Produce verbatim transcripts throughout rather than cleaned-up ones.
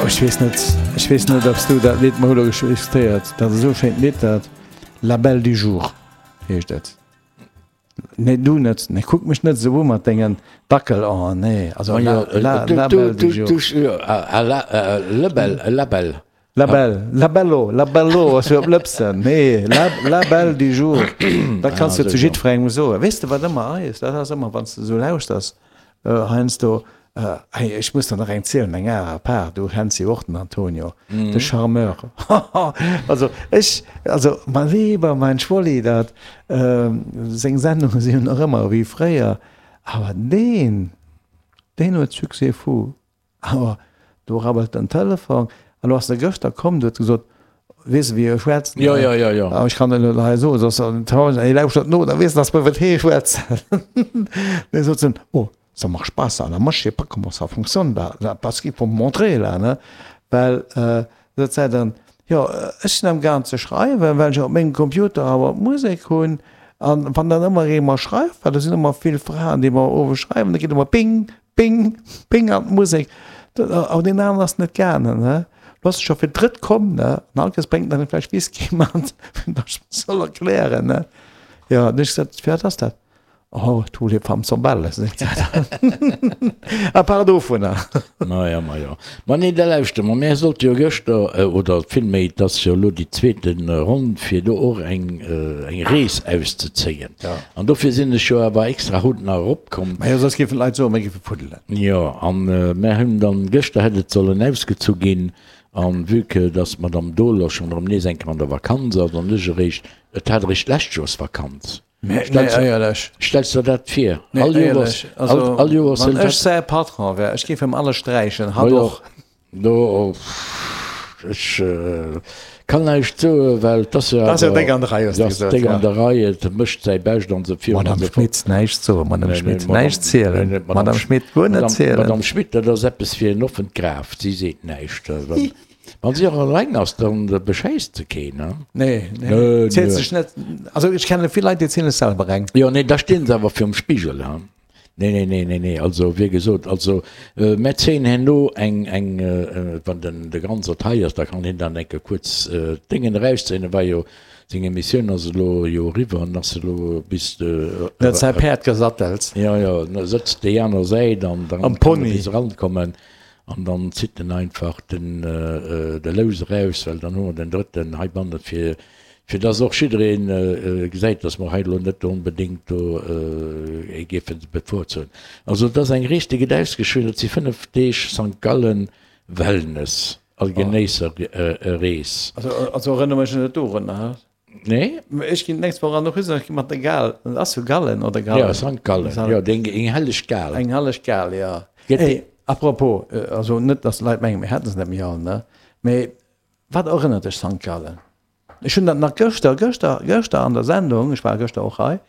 Ech weess net, ech weess net, ob s du dat Lidd, mer hu lo diskutéiert, dat ass esou schéint Lidd, dat La Belle du Jour heescht et. Nee, du net, nee, kuck mech net esou u mat dengen Dackelaen, nee, also La, La, La Belle du Jour. Le Belle, La Belle. La Belle, La Bello, La Bello ass jo op Lëpsen, nee, La, La Belle du Jour, dat kanns du zu jiddwerengem soen. Weess de wat ëmmer eis, dat ass ëmmer wann s de esou lauschters, heiansdo, Hey, ech muss der nach eng zielen, eng aner apart, du kenns jo och den Antonio, de Charmeur. Also ech, also mein Lieber, mein Schwolli, dat, seng Sendunge sinn jo nach ëmmer wéi fréier, awer deen, deen huet Succès fou. Awer do rabbelt den Telefon, an do ass e gëschter komm, du huet gesot, weess de wéi e schwätzt? Jo, jo, jo, jo. Ech kann et elo hei soen, soss hie lauschtert no, da weess en, datt mer iwwer hie schwätzen. Dee sot en, oh, ça marche pas ça, là, moi je sais pas comment ça fonctionne là, là, parce qu'il faut me montrer là, ne? Well sot säi dann, jo, ech sinn amgaang ze schreiwen, well ech op mengem Computer awer d'Musek hunn, an wann dann ëmmer ee mer schreift, well do sinn ëmmer vill Fraen, déi mer owes schreiwen, da geet ëmmer ping, ping, ping an d'Musek, awer deen aneren ass net gaangen, ne? Du ass scho fir d'drëtt komm, ne? An all Kéiers bréngt en eng Fläsch Whisky mat, fir datt ech em soll erklären, ne? Jo, an ech gesot, Fir wat ass dat? Oh, tous les femmes sont belles, seet se dann. À part dovunner. Maja, maja. Ma nee, da lauschter mer, mär sollte jo gëschter, oder villméi, et ass jo elo déi zweete Ronn, fir do och eng, eng Rees auszezéien. An dofir sinn ech jo awer extra haut nach eropkomm. Majo, soss géifen d'Leit soen, mir géife fuddelen. Jo, an mär hunn dann, gëschter hätt et sollen ausgezu ginn, an vue que dass d'Madame Dohler schonn erëm nees eng Kéier an der Vakanz ass an ech eréischt, et hat eréischt d'lescht Joers Vakanz. Nee, éierlech. Stells der dat vir? Nee, éierlech. Also, all Joers wann ech säi Patron wär, ech géif him alles sträichen, hatt och. Do, ech kann näischt soen, well 't ass jo awer. 't ass jo déck an der Rei, hues de gesot. Déck an der Rei, et mécht säi Bescht an esou virun an esou fort. Madame Schmit, näischt soen, Madame Schmit, näischt zielen, Madame Schmit, guer net zielen. Madame Schmit, dat ass eppes fir en offent Graf, si seet näischt. Wann si och eleng ass, dann beschäisst se keen, ne? Nee, nee, zielt sech net. Also ech kenne vill Leit, déi zielen sech selwer eng. Jo, nee, da stinn se awer virum Spigel, he? Nee, nee, nee, nee, nee, also wéi gesot, also mär zéien herno eng, eng, wann den de Ganzert hei ass, da kann hien dann eng Kéier kuerz d'Déngen erauszéien, e war jo, seng Emissioun ass elo jo eriwwer an ass elo bis de. En huet säi Päerd gesattelt. Jo, jo, en sëtzt déi aner Säit an dann kann e bis erankommen. An dann zitt en einfach den de Lous eraus, well dann hu mer den drëtten heibanne fir fir dass och jidderee gesäit, dass mer hei elo net onbedéngt do ee géife bevorzugen. Also et ass eng Rees, déi gëtt ausgeschriwwen, dat si fënnef Deeg Sankt Gallen Wellness a Genéisserrees. Also erënnere mech net dorunner. Nee. Ech ginn d'nächst Woch an och ech gi mat der Gal. Dat ass jo Gallen oder Gallen? Ja, Sankt Gallen. Jo, déi eng helleg Gal. Eng helleg Gal, jo. Hey, apropos, also net, datt d'Leit mengen, mir hätte se net méi all, ne? Mee wat erënnert dech Sankt Gallen? Ech hunn dat nach gëschter, gëschter, gëschter an der Sendung, ech war gëschter och hei,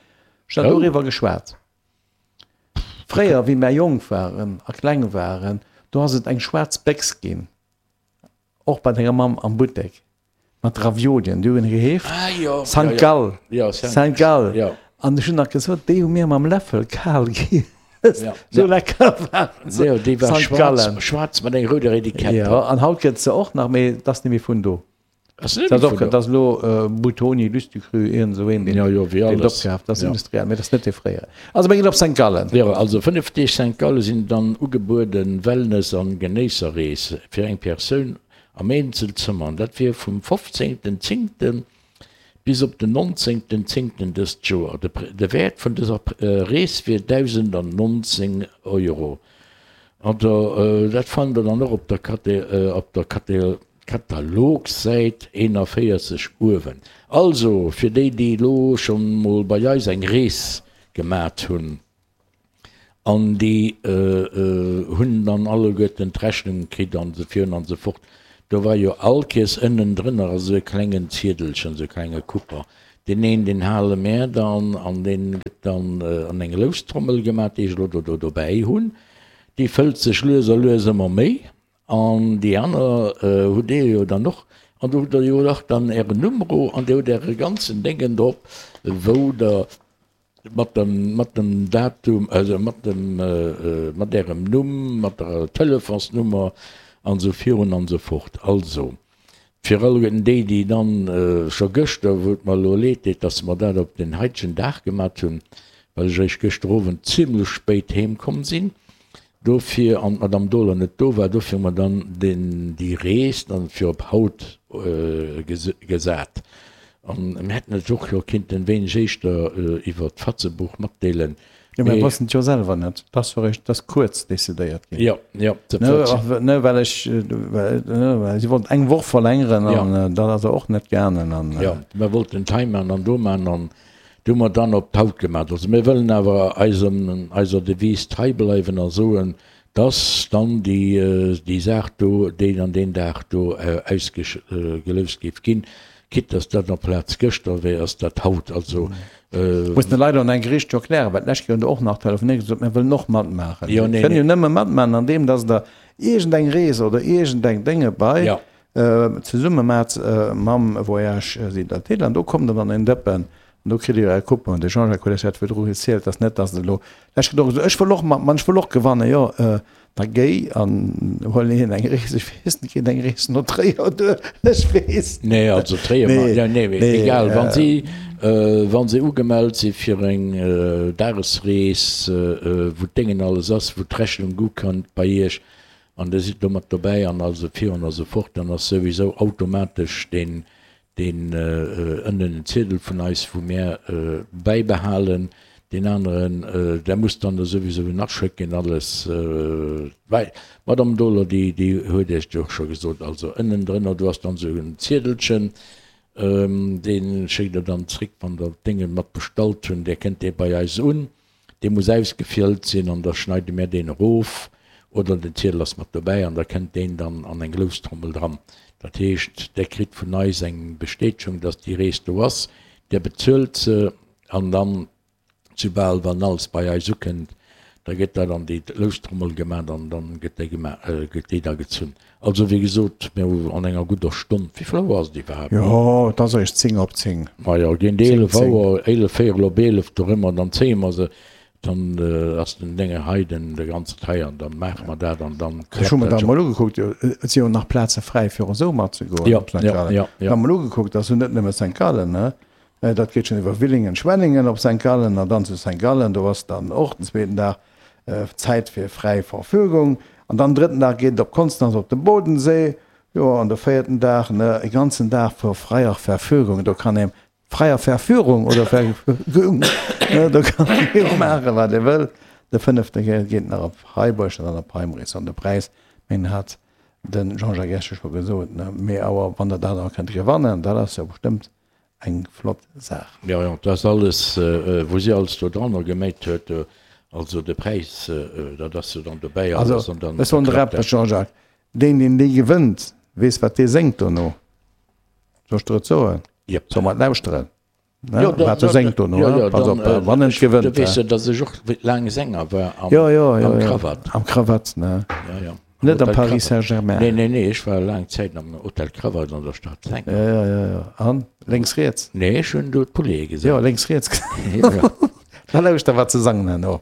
ech hunn dat doriwwer geschwat. Fréier, wéi mär jonk waren a kleng waren, do ass et eng schwaarz Béchs ginn, och bei denger Mamm am Buttek. Mat Raviolien, déi hunn geheescht Sankt Gall, Saint Gall. An ech hunn nach gesot, déi hu mir mam Läffel kal giess, sou lecker waren se. Déi war schwaarz, schwaarz mat enger rouder Etikett. Jo, an haut gëtt se och nach, mee et ass net méi vun do. Ass net méi vun do? Dat ass elo Buitoni, Lustucru, iergend esou een, deen et opkaaft. Dat ass industriell, mee dat ass net dee fréiere. Also mir ginn op Sankt Gallen. Jo, also fënnef Deeg Sankt Gallen sinn dann ugebueden, Wellness an Genéisserrees fir eng Persoun Am Eenzelzëmmer, an dat wier vum fofzéngten zéngten bis op den nonzéngten zéngten dëst Joer. De Wäert vun dëser Rees wier dausendannonzéng Euro. Oder dat fannt der dann och op der op der Katalogsäit eenanvéierzeg uewen. Also fir déi, déi elo schonn mol bei eis eng Rees gemat hunn. An déi hunn dann alleguerten d'Rechnung kritt an esou virun an esou fort. Do war jo all Kees ënnendrënner esou e klengen Ziedelchen, esou e klenge Kupper. Deen een, deen hale mär dann an dee gëtt dann an eng Loustrommel gemaach, déi ech elo do dobäi hunn. Déi fëllt sech lues a lues ëmmer méi. An déi aner hutt Dir jo dann och. An do hutt Der jo och dann Ären Nummero an Dir hutt Äre ganzen Déngen drop, wou Der Mat dem, mat dem Datum, also mat dem, mat Ärem Numm, mat der Telefonsnummer an esou virun an esou fort. Also, fir alleguerten déi, déi dann scho gëschter, wou et mer elo leed deet, dass mer dat op den haitegen Dag gemat hunn, well ech eréischt gëschter Owend zimlech spéit heem komm sinn, dofir, an d'Madame Dohler net do war, dofir hu mer dann den, déi Rees dann fir op haut gesat. An mir hätten et och jo kinnten e wéineg éischter iwwert d'Fatzebuch matdeelen, Jo, mir wossten et jo selwer net. Et ass jo eréischt, et ass kuerz decidéiert ginn. Jo, jo. Ne, och, ne, well ech, well, ne, well si wollten eng Woch verlängeren an dat ass och net gaangen an. Jo, mir wollten et hei maachen an do maachen an du hu mer dann op d'Haut gemaach. Also mir wëllen awer eisem, eiser Devise trei bleiwen a soen, dass dann déi, déi Saach do deen an deen Dag do ausgeloust géif ginn. Quitte dass dat amplaz gëschter wär, ass dat haut. Also. Muss de Leit an engem Gericht jo erklären, well d'lescht Kéier hunn der och nach telefonéiert gesot, mir wëllen och matmaachen. Jo, nee, Dir kënnt jo nee. nëmme matmaachen andeem dass der iergendeng Rees oder iergendeng Dénge bei Ja. zesumme maacht mam Voyage Südathél an do kommt der dann en Dëppen an do kritt Dir Är Coupon. De Jean-Jacques huet lech dat virdru gezielt, dass net dass elo d'lescht Kéier och gesot, ech wëll och matman, ech wëll och gewannen. Jo, Da géi an huel hien eng Rees, ech weess net, geet eng Rees no Tréier duer, ech weess net. Nee, also Tréier, Nee, ja, nee, nee, egal, wann si, wann si ugemellt si fir eng Dagesrees, wou d'Déngen alles ass, wou d'Rechnung ukënnt bei Iech an Dir sidd do mat dobäi an alles virun a sou fort, dann ass souwisou automatesch deen, deen ënnen en Ziedel vun eis, wou mär bäibehalen, deen aneren, där muss dann da souwisou en aschécken, alles. Well d'Madame Dohler, déi, déi huet Iech jo och scho gesot, also ënnendrënner, do ass dann esou en Ziedelchen, dee schéckt Der dann zréck, wann Der d'Dénge mat bestallt hunn, där kënnt dee bei eis un. Dee muss ausgefjëllt sinn an da schneide mär deen erof, oder den Ziedel ass mat dobäi an da kënnt deen dann an eng Loustrommel dran. Dat heescht, Der kritt vun eis eng Bestätegung, dass déi Rees do ass, Der bezuelt se an dann, soubal wann alles bei eis ukënnt, da gëtt dat an déi Loustrommel gemat an dann gëtt déi gema, gëtt déi da gezunn. Also wéi gesot, mir hu an enger gudder Stonn, wéi vill Auer ass et iwwerhaapt? Jo, et ass eréischt zéng op zéng. Majo, géint Zéng, eelef zéng. Auer, eelef, véierel op eelef dorëmmer, dann zéie mer se, dann ass den Dénge hei, den de ganzen hei an dann maache mer dat an dann Ech hu klappt mer dat dat scho. emol ugekuckt, jo, et si jo nach Plaze fräi fir esou matzegoen Jo, op Sankt jo, Gallen. jo, Ech jo. hu mol ugekuckt, dat ass jo net nëmme Sankt Gallen, ne? Dat geet schonn iwwer Willingen, Schwenningen op Sankt Gallen an dann zu Sankt Gallen, do ass dann och den zweeten Dag Zäit fir fräi Verfügung an dann drëtten Dag geet et op Konstanz op de Bodensee, jo an de véierten Dag, ne, e ganzen Dag vor freier Verfügung, do kann ee freier Verführung oder Verfügung, ne, do kann ee maachen wat ee wëll. De fënnefte geet nach op Freiburg an dann op Heimrees an de Präis, mengen hat de Jean-Jacques Esche scho gesot, ne, mee awer wann der dat awer kënnt gewannen, dat ass jo bestëmmt eng flott Saach. Jo, jo, dat ass alles, wou si alles do dranner geméit huet, also de Präis, dat ass jo dann dobäi Also, alles an dann ech soen der klappt eppes, dat. Jean-Jacques, deen, deen déi gewënnt, weess, wat dee séngt dono. Soll ech der et soen? Jep. Solle mer et lauschteren, ne, Jo, da, wat e da, séngt dono, jo, ne? jo, Pass dann, op, wann en ech, du gewënnt, weess he? jo, datt ech och laang Sänger war am, Jo, jo, jo, am jo, Krawatt. am Krawatt, ne? Jo, jo. Net am Hotel Paris Krawatt. Saint-Germain. Nee, nee, nee, ech war laang Zäit am Hotel Krawatt an der Stad Sänger. Jo, jo, jo, jo. An? Lénks, riets? Nee, ech hunn do d'Poulainen Jo, gesat. lénks, riets. Jo, jo. Da lauschter, wat se sangen herno.